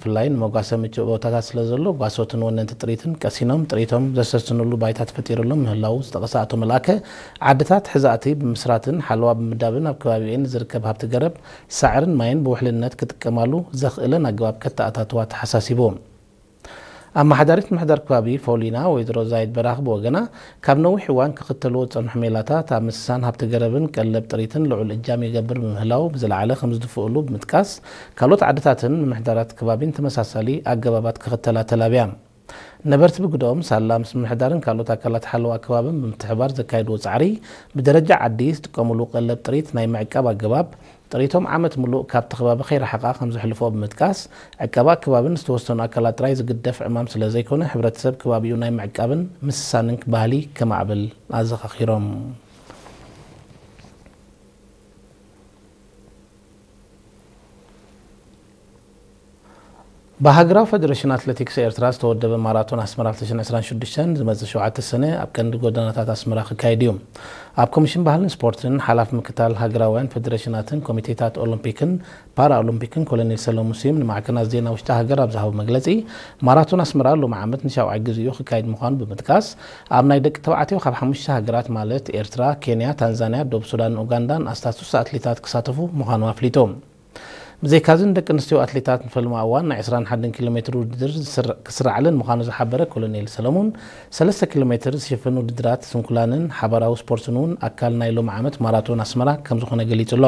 ብፍላይ ንመጓሰ ምቹእ ቦታታት ስለ ዘሎ፣ ጓሶትን ወነንቲ ጥሪትን ቀሲኖም ጥሪቶም ዘሰስንሉ ባይታ ተፈጢሩሎም ምህላዉ ዝጠቐሰ ኣቶ መልኣከ፣ ዓድታት ሕዛእቲ ብምስራትን ሓለዋ ብምዳብን ኣብ ከባቢኤን ንዝርከብ ሃብቲ ገረብ፣ ሳዕርን ማይን ብውሕልነት ክጥቀማሉ ዘኽእለን ኣገባብ ከተኣታትዋ ተሓሳሲቡ። ኣመሓዳሪት ምሕዳር ከባቢ ፎሊና ወይዘሮ ዛይድ በራኽ ብወገና፣ ካብ ነዊሕ እዋን ክኽተልዎ ዝጸንሑ ሜላታት ኣብ ምስሳን ሃብቲ ገረብን ቀለብ ጥሪትን ልዑል እጃም ይገብር ብምህላው ብዝለዓለ ከም ዝድፍኡሉ ብምጥቃስ፣ ካልኦት ዓድታትን ምምሕዳራት ከባቢን ተመሳሳሊ ኣገባባት ክኽተላ ተላብያ። ነበርቲ ብግደኦም፣ ሳላ ምስ ምምሕዳርን ካልኦት ኣካላት ሓለዋ ከባብን ብምትሕባር ዘካየድዎ ጻዕሪ፣ ብደረጃ ዓዲ ዝጥቀሙሉ ቀለብ ጥሪት ናይ ምዕቃብ ኣገባብ፣ ጥሪቶም ዓመት ምሉእ ካብቲ ከባቢ ከይረሓቓ ከም ዘሕልፍኦ ብምጥቃስ፣ ዕቀባ ኣከባብን ዝተወሰኑ ኣካላት ጥራይ ዝግደፍ ዕማም ስለ ዘይኮነ፣ ሕብረተሰብ ከባቢኡ ናይ ምዕቃብን ምስሳንን ባህሊ ከማዕብል ኣዘኻኺሮም። ብሃገራዊ ፈደረሽን ኣትሌቲክስ ኤርትራ ዝተወደበ ማራቶን ኣስመራ ክልተ ሽሕን ዕስራን ሽዱሽተን ዝመጽእ ሸውዓተ ሰነ ኣብ ቀንዲ ጎደናታት ኣስመራ ክካየድ እዩ። ኣብ ኮሚሽን ባህልን ስፖርትን ሓላፊ ምክታል ሃገራውያን ፈደረሽናትን ኮሚቴታት ኦሎምፒክን ፓራኦሎምፒክን ኮሎኔል ሰለሙን ስዩም ንማዕከናት ዜና ውሽጢ ሃገር ኣብ ዝሃቦ መግለጺ፣ ማራቶን ኣስመራ ሎሚ ዓመት ንሻውዓይ ግዜኡ ክካየድ ምዃኑ ብምጥቃስ፣ ኣብ ናይ ደቂ ተባዕትዮ ካብ ሓሙሽተ ሃገራት ማለት ኤርትራ፣ ኬንያ፣ ታንዛንያ፣ ደቡብ ሱዳንን ኡጋንዳን ኣስታት ስሳ ኣትሌታት ክሳተፉ ምዃኑ ኣፍሊጡ። ብዘይካዚ ንደቂ ኣንስትዮ ኣትሌታት ንፈልማ እዋን ናይ ዕስራን ሓደን ኪሎ ሜትር ውድድር ዝስር-፣ ክስራዕለን ምዃኑ ዝሓበረ ኮሎኔል ሰለሙን፣ ሰለስተ ኪሎ ሜትር ዝሽፍን ውድድራት ስንኩላንን ሓባራዊ ስፖርትን እውን ኣካል ናይ ሎሚ ዓመት ማራቶን ኣስመራ ከም ዝኾነ ገሊጹ ኣሎ።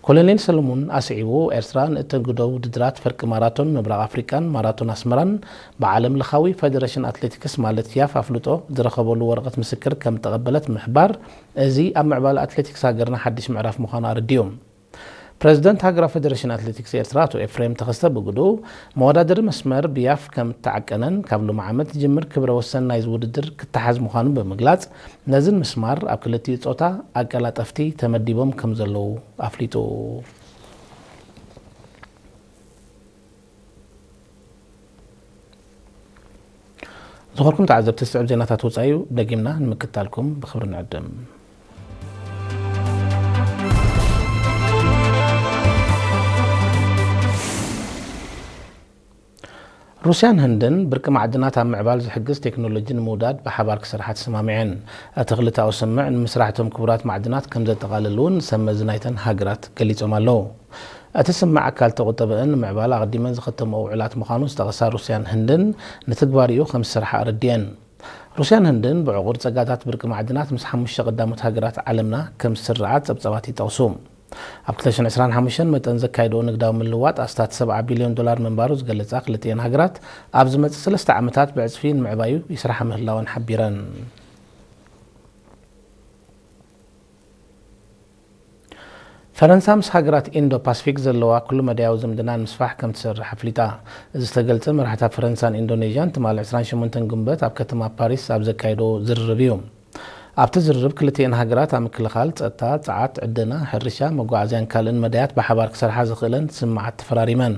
ኮሎኔል ሰለሙን ኣስዒቡ፣ ኤርትራ ንእተግዶ ውድድራት ፈርቂ ማራቶን ምብራቕ ኣፍሪቃን ማራቶን ኣስመራን ብዓለም ለኻዊ ፈደረሽን ኣትሌቲክስ ማለት ያፍ ኣፍልጦ ዝረኸበሉ ወረቐት ምስክር ከም እተቐበለት ብምሕባር፣ እዚ ኣብ ምዕባለ ኣትሌቲክስ ሃገርና ሓድሽ ምዕራፍ ምዃኑ ኣረዲኡ። ፕረዚደንት ሃገራዊ ፈደረሽን ኣትሌቲክስ ኤርትራ ኣቶ ኤፍሬም ተኸስተ ብግድኡ፣ መወዳደሪ መስመር ብያፍ ከም እተዓቀነን ካብ ሎሚ ዓመት ዝጅምር ክብረ ወሰን ናይዚ ውድድር ክተሓዝ ምዃኑን ብምግላጽ፣ ነዚ ንምስማር ኣብ ክልቲኡ ጾታ ኣቀላጠፍቲ ተመዲቦም ከም ዘለዉ ኣፍሊጡ። ዝኾንኩም ተዓዘብቲ፣ ዝስዕብ ዜናታት ወጻኢ እዩ። ደጊምና ንምክትታልኩም ብኽብሪ ንዕድም። ሩስያን ህንድን ብርቂ ማዕድናት ኣብ ምዕባል ዝሕግዝ ቴክኖሎጂ ንምውዳድ ብሓባር ክሰርሓ ተሰማሚዐን። እቲ ክልተኣዊ ስምምዕ ንምስራሕ እቶም ክቡራት ማዕድናት ከም ዘጠቓልል እውን ሰብ መዚ ናይተን ሃገራት ገሊጾም ኣለዉ። እቲ ስምምዕ ኣካል ተቑጠበአን ንምዕባል ኣቐዲመን ዝኸተምኦ ውዕላት ምዃኑ ዝጠቐሳ ሩስያን ህንድን፣ ንትግባሪኡ ከም ዝሰርሓ ኣረዲአን። ሩስያን ህንድን ብዕቑር ጸጋታት ብርቂ ማዕድናት ምስ ሓሙሽተ ቀዳሞት ሃገራት ዓለምና ከም ዝስርዓ ጸብጻባት ይጠቕሱ። ኣብ ክልተ ሽሕን ዕስራን ሓሙሽተን መጠን ዘካየድኦ ንግዳዊ ምልዋጥ ኣስታት ሰብዓ ቢልዮን ዶላር ምንባሩ ዝገለጻ ክልቲኤን ሃገራት፣ ኣብ ዝመጽእ ሰለስተ ዓመታት ብዕጽፊ ንምዕባዩ ይስርሓ ምህላወን ሓቢረን። ፈረንሳ ምስ ሃገራት ኢንዶ ፓስፊክ ዘለዋ ኩሉ መዳያዊ ዝምድና ንምስፋሕ ከም ትሰርሕ ኣፍሊጣ። እዚ ዝተገልጸ መራሕታ ፈረንሳን ኢንዶኔዥያን ትማሊ ዕስራን ሸሞንተን ግንቦት ኣብ ከተማ ፓሪስ ኣብ ዘካየዶ ዝርርብ እዩ። ኣብቲ ዝርርብ ክልቲኤን ሃገራት ኣብ ምክልኻል፣ ጸጥታ፣ ጸዓት፣ ዕደና፣ ሕርሻ፣ መጓዓዝያን ካልእን መዳያት ብሓባር ክሰርሓ ዝኽእለን ስምምዓት ተፈራሪመን።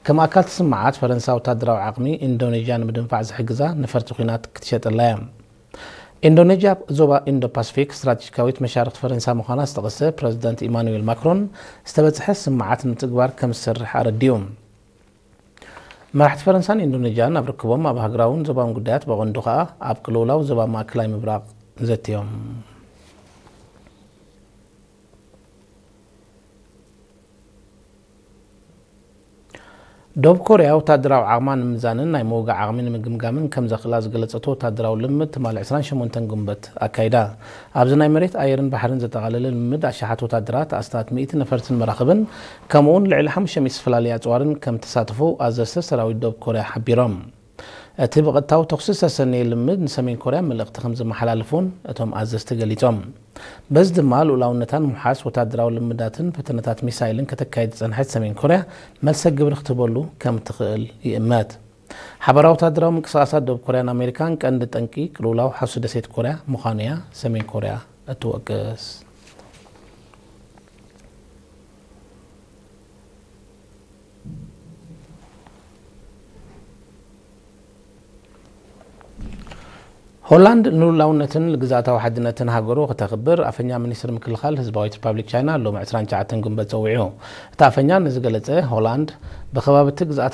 ከም ኣካል እቲ ስምምዓት፣ ፈረንሳ ወታደራዊ ዓቕሚ ኢንዶኔዥያ ንምድንፋዕ ዝሕግዛ ነፈርቲ ኲናት ክትሸጠላ እያ። ኢንዶኔዥያ ኣብ ዞባ ኢንዶ ፓስፊክ ስትራቴጂካዊት መሻርኽቲ ፈረንሳ ምዃና ዝጠቐሰ ፕረዚደንት ኢማኑኤል ማክሮን፣ ዝተበጽሐ ስምምዓት ንምትግባር ከም ዝሰርሕ ኣረዲኡ። መራሕቲ ፈረንሳን ኢንዶኔዥያን ኣብ ርክቦም ኣብ ሃገራውን ዞባውን ጉዳያት፣ ብቐንዱ ከኣ ኣብ ቅልውላው ዞባ ማእከላይ ምብራቕ ዘትዮም። ደቡብ ኮርያ ወታደራዊ ዓቕማ ንምምዛንን ናይ ምውጋእ ዓቕሚ ንምግምጋምን ከም ዘኽእላ ዝገለጸቶ ወታደራዊ ልምምድ ትማሊ ዕስራን ሸሞንተን ግንቦት ኣካይዳ። ኣብዚ ናይ መሬት፣ ኣየርን ባሕርን ዘጠቓለለ ልምምድ፣ ኣሽሓት ወታደራት፣ ኣስታት ሚእቲ ነፈርትን መራኽብን፣ ከምኡውን ልዕሊ ሓሙሽተ ሚእቲ ዝተፈላለዩ ኣጽዋርን ከም ተሳተፉ ኣዘዝቲ ሰራዊት ደቡብ ኮርያ ሓቢሮም። እቲ ብቐጥታዊ ተኹሲ ዝተሰነየ ልምምድ ንሰሜን ኮርያ መልእኽቲ ከም ዘመሓላልፍ እውን እቶም ኣዘዝቲ ገሊጾም። በዚ ድማ ልኡላውነታ ንምውሓስ ወታደራዊ ልምዳትን ፈተነታት ሚሳይልን ከተካይድ ዝጸንሐት ሰሜን ኮርያ መልሰ ግብሪ ክትህበሉ ከም እትኽእል ይእመት። ሓባራዊ ወታደራዊ ምንቅስቓሳት ደቡብ ኮርያን ኣሜሪካን ቀንዲ ጠንቂ ቅልውላው ሓውሲ ደሴት ኮርያ ምዃኑ እያ ሰሜን ኮርያ እትወቅስ። ሆላንድ ንሉላውነትን ግዝኣታዊ ሓድነትን ሃገሩ ከተኽብር ኣፈኛ ሚኒስትሪ ምክልኻል ህዝባዊት ሪፓብሊክ ቻይና ሎሚ ዕስራን ትሽዓተን ግንቦት ጸዊዑ። እቲ ኣፈኛ ንዝገለጸ፣ ሆላንድ ብከባቢ እቲ ግዝኣት